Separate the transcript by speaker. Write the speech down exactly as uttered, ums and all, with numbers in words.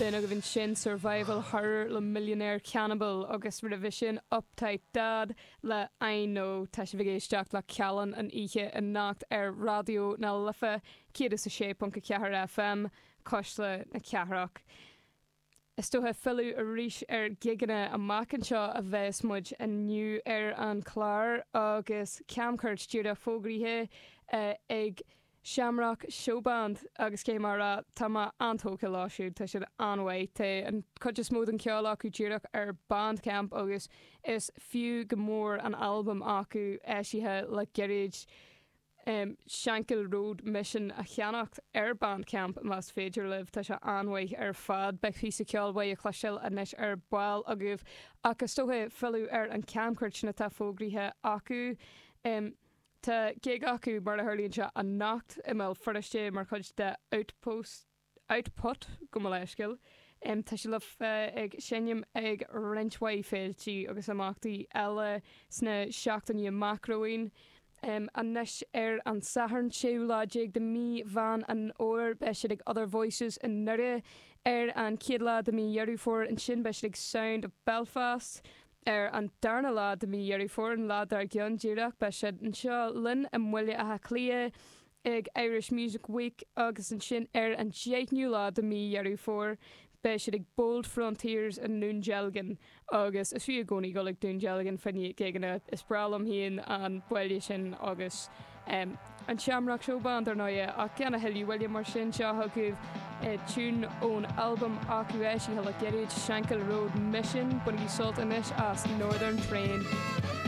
Speaker 1: B'in agaibh ansin Survival Horror le Millionaire Cannibal agus roimhe sin Uptight Dad le I Know tá sibh ag éisteacht le Callán an oíche anocht ar Raidió na Life céad is a sé ponc a ceathair FM Cuisle na Cathrach. Is dócha filleadh arís ar gigeanna amach anseo a bheas muid inniu ar an chlár agus camchuairt díreach fógraithe eh, ag Shamrock Showband agus cé mar a tá mé an-tógtha leo siúd tá siad an-mhaith tá an chuid is mó den cheol acu díreach ar Bandcamp agus is fiú go mór an albam acu eisithe le gairid um, Shankill Road Mission a cheannacht ar Bandcamp más féidir libh tá sé an-mhaith ar fad beidh píosa ceoil uaidh le cloisteáil anois ar ball agaibh ach is dócha filleadh ar an camchuairt sin atá fógraithe acu. Um, Tá gig acu mar a tharlaíonn sé anocht i mBéal Feirste mar chuid de Outpost Output go mo leithscéal. Um, tá sé le bheith ag seinm ag roinnt mhaith féiltí agus imeachtaí eile sna seachtainí amach romhainn. Um, anois ar an Satharn séú lá déag de mí Mheán an Fhómhair beidh siad ag Other Voices i nDoire ar an chéad lá de mí Dheireadh Fómhair ansin beidh siad ag Sound of Belfast. Ar an darna lá de mí Dheireadh Fómhair an lá dár gcionn díreach beidh siad anseo linn i mBaile Átha Cliath ag Irish Music Week agus ansin ar an deichiú lá de mí Dheireadh Fómhair beidh siad ag Bold Frontiers i nDún Dealgan agus is fiú i gcónaí dul ag Dún Dealgan fá choinne gigeanna is breá liom féin an baile sin agus um, an Shamrock Showband ar ndóigh ach gan a thuilleadh moille mar sin seo chugaibh tiún ón albam acu eisithe le gairid Shankill Road Mission bainigí sult anois as Northern Train.